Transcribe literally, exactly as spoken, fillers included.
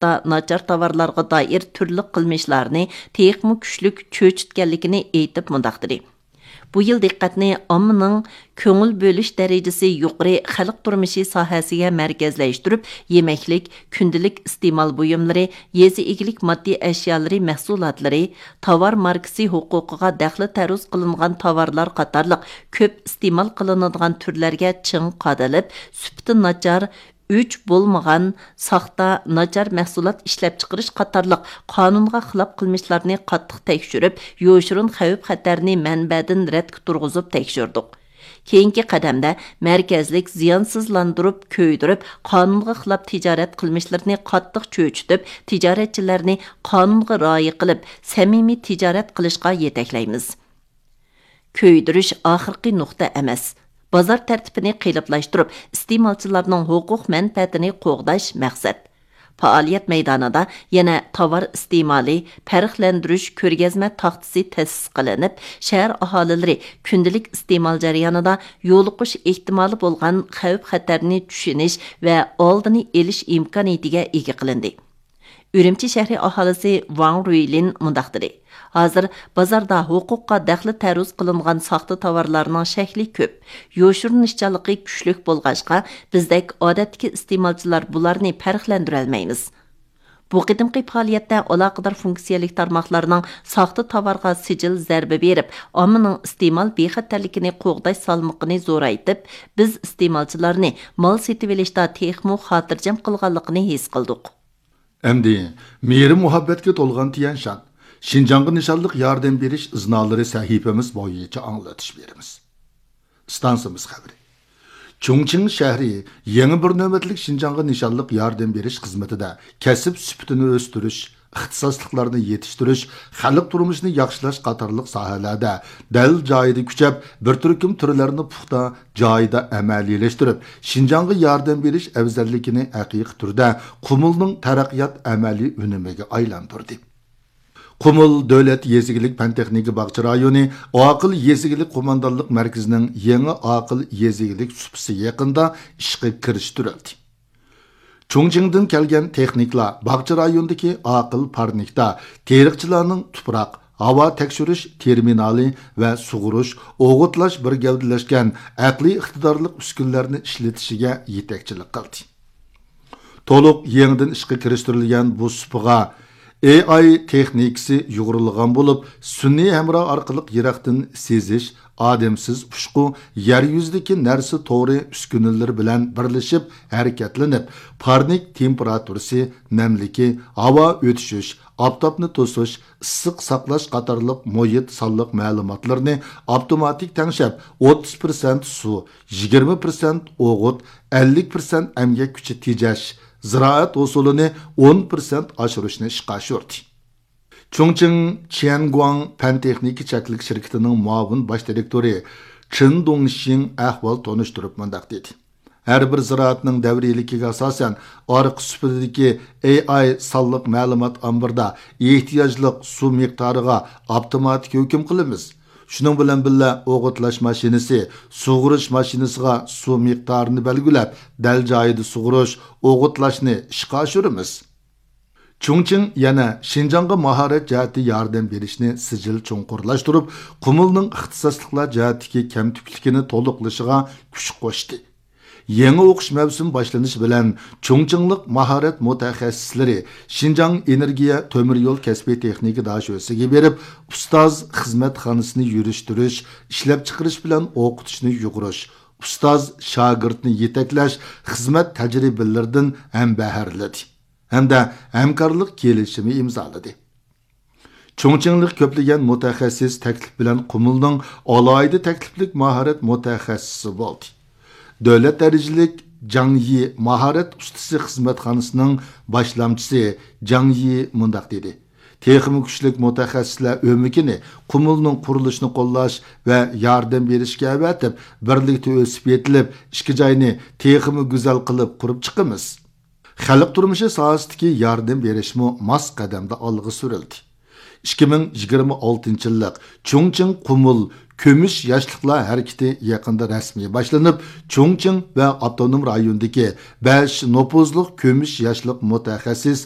ناچار تاۋارلارغا دائىر تۈرلۈك قىلمىشلارنى تېخىمۇ كۈچلۈك چۆچۈتكەنلىكىنى ئېيتىپ مۇنداق دېدى: بۇ يىل دىققەتنى ئاممىنىڭ كۆڭۈل بۆلۈش دەرىجىسى يۇقىرى خەلق تۇرمۇشى ساھەسىگە مەركەزلەشتۈرۈپ، يېمەكلىك، كۈندىلىك ئىستېمال بۇيۇملىرى، يېزا ئىگىلىك ماددىي ئەشيالىرى مەھسۇلاتلىرى، تاۋار ماركىسى ھوقۇقىغا دەخلى تەرۇز قىلىنغان تاۋارلار قاتارلىق كۆپ ئىستېمال قىلىنىدىغان تۈرلەرگە چىڭ قادىلىپ، سۈپىتى ناچار، ئۆچ بولمىغان، ساختا، ناچار مەھسۇلات ئىشلەپچىقىرىش قاتارلىق قانۇنغا خىلاپ قىلمىشلارنى قاتتىق تەكشۈرۈپ، يوشۇرۇن خەۋپ-خەتەرنى مەنبەدىن رەتكە تۇرغۇزۇپ تەكشۈردۇق. كېيىنكى قەدەمدە مەركەزلىك زىيانسىزلاندۇرۇپ، كۆيدۈرۈپ، قانۇنغا خىلاپ تىجارەت قىلمىشلىرىنى قاتتىق چۆچۈتۈپ، تىجارەتچىلەرنى قانۇنغا رىئايە قىلىپ، سەمىمىي تىجارەت قىلىشقا يېتەكلەيمىز. كۆيدۈرۈش ئاخىرقى نۇقتا ئەمەس، بازار تەرتىپىنى قېلىپلاشتۇرۇپ، ئىستېمالچىلارنىڭ ھوقۇق مەنپەئەتىنى قوغداش مەقسەت. پائالىيەت مەيدانىدا يەنە تاۋار ئىستېمالى، پەرقلەندۈرۈش كۆرگەزمە تاختىسى تەسىس قىلىنىپ، شەھەر ئاھالىلىرى كۈندىلىك ئىستېمال جەريانىدا يولۇقۇش ئېھتىمالى بولغان خەۋپ-خەتەرنى چۈشىنىش ۋە ئالدىنى ئېلىش ئىمكانىيىتىگە ئىگە قىلىندى. ئۈرۈمچى شەھىرى ئاھالىسى ۋاڭ رۇيلىن مۇنداق دېدى: ھازىر بازاردا ھوقۇققا دەخلى تەرۇز قىلىنغان ساختا تاۋارلارنىڭ شەكلى كۆپ، يوشۇرۇنۇشچانلىقى كۈچلۈك بولغاچقا، بىزدەك ئادەتتىكى ئىستېمالچىلار بۇلارنى پەرقلەندۈرەلمەيمىز. بۇ قېتىمقى پائالىيەتتە ئالاقىدار فۇنكسىيەلىك تارماقلارنىڭ ساختا تاۋارغا سىجىل زەربە بېرىپ، ئاممىنىڭ ئىستېمال بىخەتەرلىكىنى قوغداش سالمىقىنى زورايتىپ، بىز ئىستېمالچىلارنى مال سېتىۋېلىشتا تېخىمۇ خاتىرجەم قىلغانلىقىنى ھېس قىلدۇق. ئەمدى مېھرى مۇھەببەتكە تولغان تيەنشان، شىنجاڭغا نىشانلىق ياردەم بېرىش ئىزنالىرى سەھىپىمىز بويىچە ئاڭلىتىش بېرىمىز. ئىستانسىمىز خەۋىرى. چۇڭچىڭ شەھىرى يېڭى بىر نۆۋەتلىك شىنجاڭغا نىشانلىق ياردەم بېرىش خىزمىتىدە كەسىپ سۈپىتىنى ئۆستۈرۈش، ئىختىساسلىقلارنى يېتىشتۈرۈش، خەلق تۇرمۇشىنى ياخشىلاش قاتارلىق ساھەلەردە دەل جايىدا كۈچەپ، بىر تۈركۈم تۈرلەرنى پۇختا جايىدا ئەمەلىيلەشتۈرۈپ، شىنجاڭغا ياردەم بېرىش ئەۋزەللىكىنى ھەقىقىي تۈردە قۇمۇلنىڭ تەرەققىيات ئەمەلىي ئۈنۈمىگە ئايلاندۇردى. قۇمۇل دۆلەت يېزا ئىگىلىك پەن تېخنىكا باغچە رايونى ئاقىل يېزا ئىگىلىك قوماندانلىق مەركىزىنىڭ يېڭى ئاقىل يېزا ئىگىلىك سۇپىسى يېقىندا ئىشقا كىرىشتۈرۈلدى. چۇڭچىڭدىن كەلگەن تېخنىكلار باغچە رايونىدىكى ئاقىل پارنىكتا تېرىقچىلارنىڭ تۇپراق، ھاۋا تەكشۈرۈش تېرمىنالى ۋە سۇغۇرۇش، ئوغۇتلاش بىر گەۋدىلەشكەن ئەقلىي ئىقتىدارلىق ئۈسكۈنىلەرنى ئىشلىتىشىگە يېتەكچىلىك قىلدى. تولۇق يېڭىدىن ئىشقا كىرىشتۈرۈلگەن بۇ سۇپىغا ئېي ئاي تېخنىكىسى يۇغۇرۇلغان بولۇپ، سۈنئىي ھەمراھ ئارقىلىق يىراقتىن سېزىش، ئادەمسىز ئۇچقۇ، يەر يۈزىدىكى نەرسە تورى ئۈسكۈنىلىرى بىلەن بىرلىشىپ ھەرىكەتلىنىپ، پارنىك تېمپېراتۇرىسى، نەملىكى، ھاۋا ئۆتۈشۈش، ئاپتاپنى توسۇش، ئىسسىق ساقلاش قاتارلىق مۇھىت سانلىق مەلۇماتلىرىنى ئاپتوماتىك تەڭشەپ، ئوتتۇز پىرسەنت سۇ، يىگىرمە پىرسەنت ئوغۇت، ئەللىك پىرسەنت ئەمگەك كۈچى تېجەش، زىرائەت ھوسۇلىنى ئون پىرسەنت ئاشۇرۇشنى ئىشقا ئاشۇردى. چۇڭچىڭ چيەنگۇاڭ پەن تېخنىكا چەكلىك شىركىتىنىڭ مۇئاۋىن باش دىرېكتورى چېن دۇڭشىڭ ئەھۋال تونۇشتۇرۇپ مۇنداق دېدى: ھەر بىر زىرائەتنىڭ دەۋرىيلىكىگە ئاساسەن، ئارقا سۇپىدىكى ئېي ئاي سانلىق مەلۇمات ئامبىرىدا ئېھتىياجلىق سۇ مىقدارىغا ئاپتوماتىك ھۆكۈم قىلىمىز. شۇنىڭ بىلەن بىللە، ئوغۇتلاش ماشىنىسى، سۇغۇرۇش ماشىنىسىغا سۇ مىقدارىنى بەلگىلەپ، دەل جايىدا سۇغۇرۇش، ئوغۇتلاشنى ئىشقا ئاشۇرىمىز. چۇڭچىڭ يەنە شىنجاڭغا ماھارەت جەھەتتە ياردەم بېرىشنى سىجىل چوڭقۇرلاشتۇرۇپ، قۇمۇلنىڭ ئىختىساسلىقلار جەھەتتىكى كەمتۈكلۈكىنى تولۇقلىشىغا كۈچ قوشتى. يېڭى ئوقۇش مەۋسۇمى باشلىنىشى بىلەن، چۇڭچىڭلىق ماھارەت مۇتەخەسسىسلىرى شىنجاڭ ئېنېرگىيە تۆمۈر يول كەسپىي تېخنىكا داشۆسىگە بېرىپ، ئۇستاز خىزمەتخانىسىنى يۈرۈشتۈرۈش، ئىشلەپچىقىرىش بىلەن ئوقۇتۇشنى يۇغۇرۇش، ئۇستاز شاگىرتنى يېتەكلەش خىزمەت تەجرىبىلىرىدىن ھەمبەھىرلىدى ھەمدە ھەمكارلىق كېلىشىمى ئىمزالىدى. چۇڭچىڭلىق كۆپلىگەن مۇتەخەسسىس تەكلىپ بىلەن قۇمۇلنىڭ ئالاھىدە تەكلىپلىك ماھارەت مۇتەخەسسىسى بولدى. دۆلەت دەرىجىلىك جاڭ يى ماھارەت ئۇستىسى خىزمەتخانىسىنىڭ باشلامچىسى جاڭ يى مۇنداق دېدى: تېخىمۇ كۈچلۈك مۇتەخەسسىسلەر ئۆمىكىنى قۇمۇلنىڭ قۇرۇلۇشىنى قوللاش ۋە ياردەم بېرىشكە ئەۋەتىپ، بىرلىكتە ئۆسۈپ يېتىلىپ، ئىككى جاينى تېخىمۇ گۈزەل قىلىپ قۇرۇپ چىقىمىز. خەلق تۇرمۇشى ساھەسىدىكى ياردەم بېرىشمۇ ماس قەدەمدە ئالغا سۈرۈلدى. ئىككى مىڭ يىگىرمە ئالتىنچى يىللىق چۇڭچىڭ قۇمۇل كۈمۈش ياشلىقلار ھەرىكىتى يېقىندا رەسمىي باشلىنىپ، چۇڭچىڭ ۋە ئاپتونوم رايوندىكى بەش نوپۇزلۇق كۈمۈش ياشلىق مۇتەخەسسىس